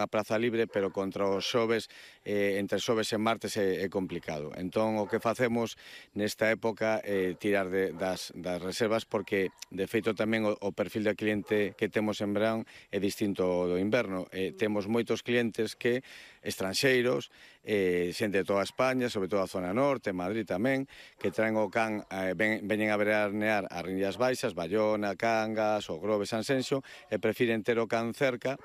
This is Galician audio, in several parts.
a praza libre, pero contra os xoves, entre xoves e martes é complicado. Entón, o que facemos nesta época é tirar das reservas, porque, de feito, tamén o perfil de cliente que temos en verán é distinto do inverno. Temos moitos clientes que estranxeiros, xente de toda España, sobre todo a zona norte, Madrid tamén, que traen o can, veñen a veranear a Rindias Baixas, Bayona, Cangas, o Grove, Sanxenxo, e prefiren ter o can cerca.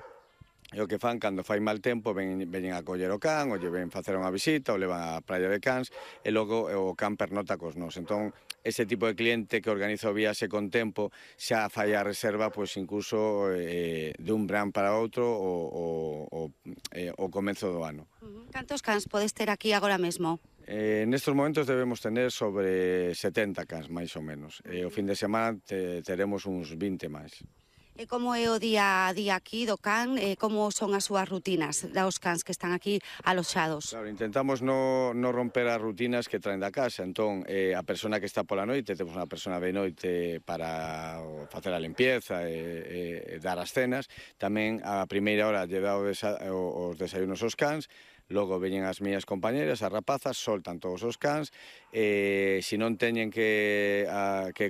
E o que fan, cando fai mal tempo, veñen a coller o can, ou lle ven facer unha visita, ou levan a praia de cans, e logo o can pernota cos nós. Entón, ese tipo de cliente que organiza o viaxe con tempo, xa fai a reserva, pois incluso dun verán para outro o comezo do ano. Cantos cans podes ter aquí agora mesmo? Nestes momentos debemos tener sobre 70 cans, máis ou menos. O fin de semana teremos uns 20 máis. E como é o día a día aquí do can? Como son as súas rutinas dos cans que están aquí aloxados? Claro, intentamos non romper as rutinas que traen da casa. Entón, a persona que está pola noite, temos unha persona de noite para facer a limpieza e dar as cenas. Tamén a primeira hora lle dá os desayunos aos cans. Logo veñen as miñas compañeras, as rapazas, soltan todos os cans, se non teñen que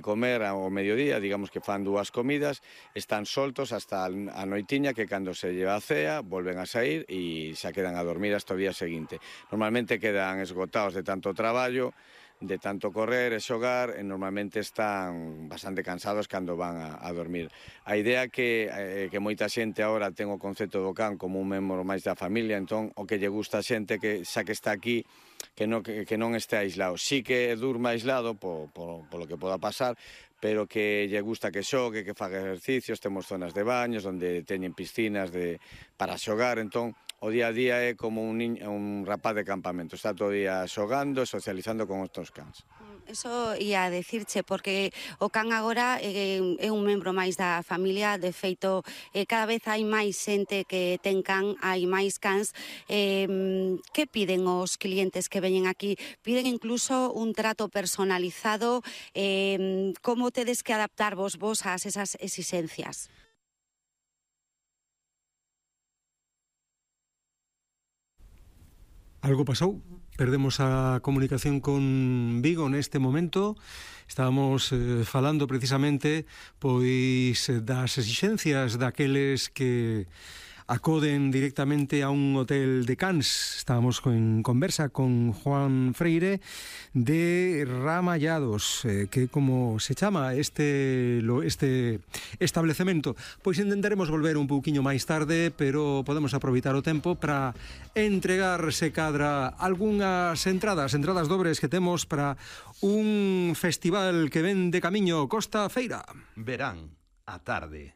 comer ao mediodía, digamos que fan 2 comidas, están soltos hasta a noitiña, que cando se lleva a cea, volven a sair e xa quedan a dormir hasta o día seguinte. Normalmente quedan esgotados de tanto traballo, de tanto correr e xogar, e normalmente están bastante cansados cando van a dormir. A idea é que moita xente agora ten o concepto do can como un membro máis da familia, entón o que lle gusta a xente que xa que está aquí, que non este aislado. Sí que durma aislado polo que poda pasar, pero que lle gusta que xogue, que faga exercicios. Temos zonas de baños onde teñen piscinas para xogar, entón o día a día é como un rapaz de campamento, está todo o día xogando e socializando con outros cans. Eso ia a decirche, porque o can agora é un membro máis da familia. De feito, cada vez hai máis xente que ten can, hai máis cans. Que piden os clientes que veñen aquí? Piden incluso un trato personalizado. Como tedes que adaptarvos vos a esas exigencias? Algo pasou, perdemos a comunicación con Vigo neste momento. Estábamos falando precisamente pois das exixencias daqueles que acoden directamente a un hotel de cans. Estábamos en conversa con Juan Freire de Ramallados, que como se chama este establecemento. Pois intentaremos volver un pouquiño máis tarde, pero podemos aproveitar o tempo para entregar, se cadra, algunhas entradas dobres que temos para un festival que ven de camiño Costa Feira. Verán a tarde.